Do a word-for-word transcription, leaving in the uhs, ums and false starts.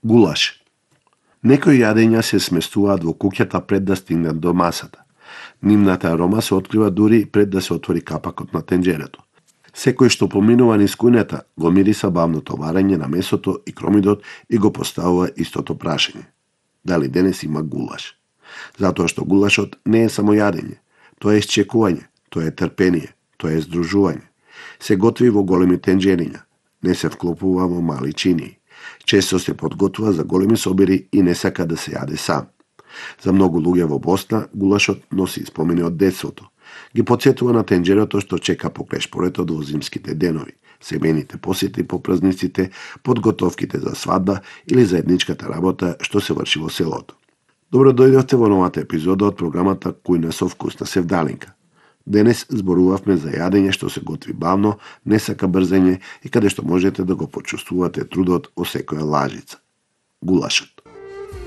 Гулаш. Некои јадења се сместуваат во куќата пред да стигнат до масата. Нивната арома се открива дури пред да се отвори капакот на тенџерето. Секој што поминува низ кујната го мириса бавното варење на месото и кромидот и го поставува истото прашање. Дали денес има гулаш? Затоа што гулашот не е само јадење, тоа е исчекување, тоа е трпение, тоа е здружување. Се готви во големи тенџериња, не се вклопува во мали чинии. Често се подготвува за големи собири и не сака да се јаде сам. За многу луѓе во Босна гулашот носи спомени од детството. Ги потсетува на тенџерото што чека покрај шпоретот во зимските денови, семејните посети по празниците, подготовките за свадба или заедничката работа што се врши во селото. Добро дојдовте во новата епизода од програмата Кујна со вкус на Севдалинка. Денес зборувавме за јадење што се готви бавно, не сака брзење и каде што можете да го почувствувате трудот во секоја лажица. Гулашот.